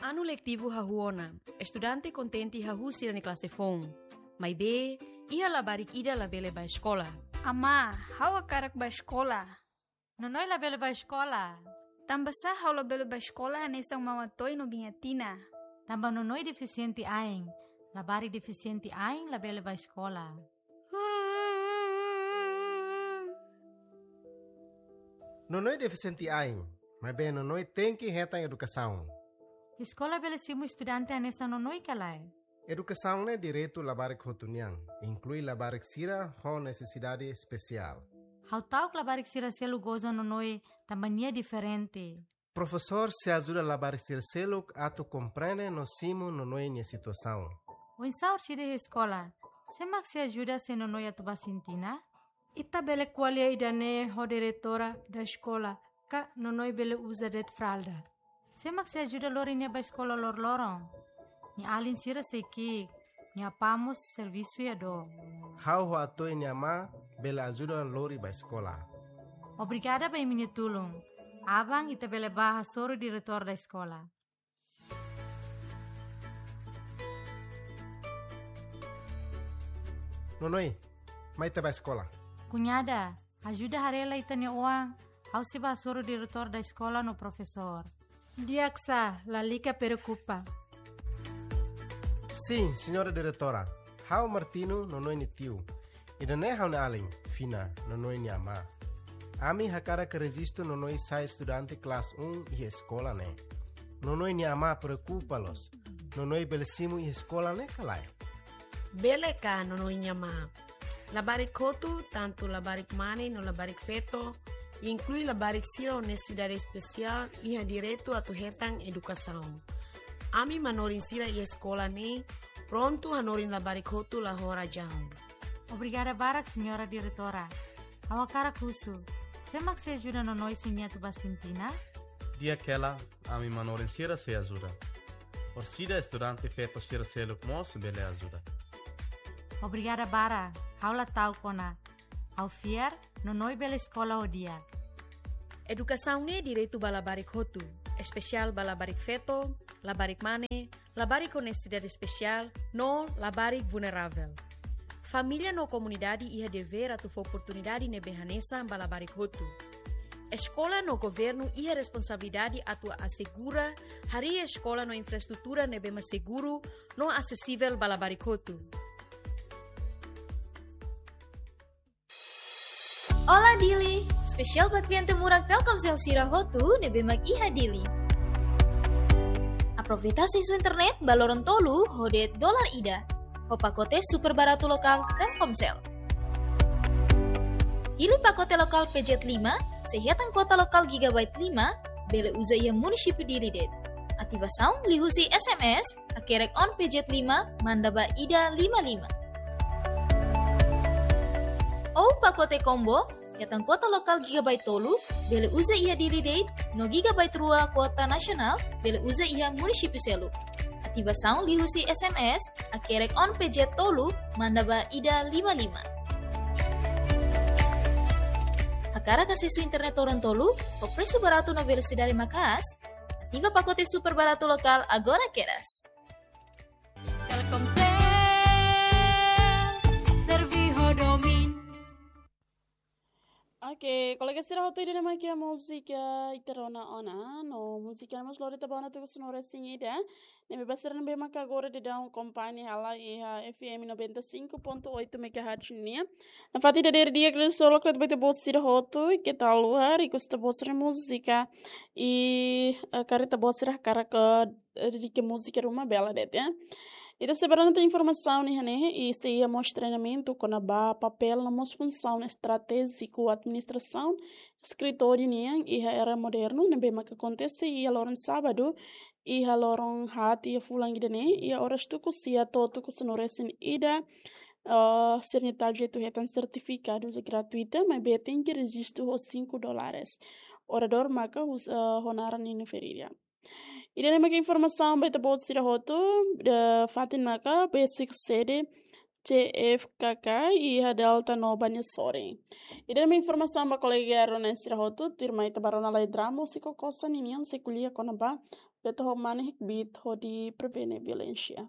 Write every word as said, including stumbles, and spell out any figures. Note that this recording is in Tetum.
Anu letivu hahú ona, estudante kontente hahú sira-nia klase foun. Maibé, iha labarik ida labele bá eskola. Amá, ha'u hakarak bá eskola. Nonoi labele bá eskola. Tanbasá ha'u labele bá eskola hanesan Maun Atoy no Biin Atina? Tanba Nonoi defisiente ain. Labarik defisiente ain labele bá eskola. Nonoi defisiente ain, maibé Nonoi tenke hetan edukasaun. Eskola bele simu estudante hanesan Nonoi ka lae? Edukasaun ne'e direitu labarik hotu nian, inklui labarik sira ho nesesidade espesiál. Ha'u ta'uk labarik sira seluk goza Nonoi tanba nia diferente. Profesór sei ajuda labarik sira seluk atu komprende no simu Nonoi nia situasaun. Oinsá orsida iha eskola, sé mak sei ajuda se Nonoi atu bá sintina? Ita bele ko'alia ida-ne'e ho diretora da eskola, ka Nonoi bele uza de'it fralda. Sé mak sei ajuda lori nia bá eskola loroloron? Nia alin sira sei ki'ik, nia apá mós servisu iha dook. Ha'u ho Atoy nia amá bele ajuda lori bá eskola. Obrigada ba imi-nia tulun. Aban ita bele bá hasoru diretór da eskola. Nonoi, mai ita bá eskola. Kuñada, ajuda haree lai ita-nia oan, ha'u sei bá hasoru diretór da eskola no profesór. Di'ak sá, lalika preokupa. Sin, señora diretora. Ha'u Martino, Nonoi nia tiu. Ida-ne'e ha'u-nia alin, Fina, Nonoi nia amá. Ami hakarak rejistu Nonoi sai estudante klase um iha eskola ne'e. Nonoi nia amá preokupa loos. Nonoi bele simu iha eskola ne'e ka lae? Bele ka, Nonoi nia amá. Labarik hotu, tantu labarik mane no labarik feto, inklui labarik sira ho nesesidade espesiál, iha direitu atu hetan edukasaun. Ami manorin sira iha eskola ne'e prontu hanorin labarik hotu la ho razaun. Obrigada barak, señora diretora. Ha'u hakarak husu, sé mak sei ajuda Nonoi se nia atu bá sintina? Di'ak hela, ami manorin sira sei ajuda. Orsida estudante feto sira seluk mós bele ajuda. Obrigada barak, ha'u la ta'uk ona. Ha'u fiar, Nonoi bele eskola ho di'ak. Edukasaun ne'e direitu ba labarik hotu, espesiál ba labarik feto, labarik mane, labarik ho nesesidade espesiál, no labarik vulneravel. Família no komunidade iha devér atu fó oportunidade ne'ebé hanesan ba labarik hotu. Eskola no governu iha responsabilidade atu asegura harii eskola no infraestrutura ne'ebé mak seguru no asesivel ba labarik hotu. Olá Dili, espesiál ba kliente murak Telkomsel sira hotu ne'ebé mak iha Dili. Aproveita asesu internet ba loron tolu ho de'it dolar ida, ho pakote super baratu lokál Telkomsel. Hili pakote lokál P Z lima, sei hetan kuota lokál gigabyte lima, bele uza iha munisípiu Dili de'it. Ativasaun liuhusi S M S, hakerek on P Z lima, manda ba ida lima lima. Ou pakote combo, hetan kuota lokál gigabyte tolu, bele uza iha Dili de'it, no gigabyte rua kuota nasionál, bele uza iha munisípiu seluk. Ativasaun liuhusi S M S, hakerek on P Z tolu, manda ba ida lima lima. Hakarak asesu internet loron tolu, ho presu baratu no velosidade maka'as, ativa pakote super baratu lokál agora kedas. Telkomsel, servi ho domin. Oke, kolega sira hotu, ida-ne'e mak iha múzika ita rona ona, no múzika ne'e mós lori ita ba ona tuku sonora singida. Ne'ebé ba sira ne'ebé maka agora daudaun akompaña hela iha F M noventa e cinco ponto oito megahertz nian. Nafatin ida-ne'e di'ak, grande solo kret ba ita-boot sira hotu, keta haluha, request ita-boot sira múzika. I, eh, karik ita-boot sira hakarak, eh, dedika múzika ruma bele de'it, ya. Ita sei bá rona tan informasaun iha ne'e, i sei iha mós treinamentu kona-ba papél no mós funsaun estratéjiku administrasaun eskritóriu nian iha era modernu, ne'ebé maka akontese iha loron sábadu, iha loron haat iha fulan ida-ne'e, iha oras tuku sia to'o tuku sanulu-resin-ida, eh, sira-nia target atu hetan sertifikadu gratuita, maibé tenke rejistu ho cinco dólares. Oradór maka hus-, eh, ho naran Nino Ferreira. Ida-ne'e maka informasaun ba ita-boot sira hotu, eh, fatin maka besik sede C F K K iha Delta no Banhasoren. Ida-ne'e mak informasaun ba kolega Aruna sira hotu, tuirmai ita bá rona lai drama husi Kokosa ninian sei ko'alia kona-ba bete ho mane hi'it hodi prevene violénsia.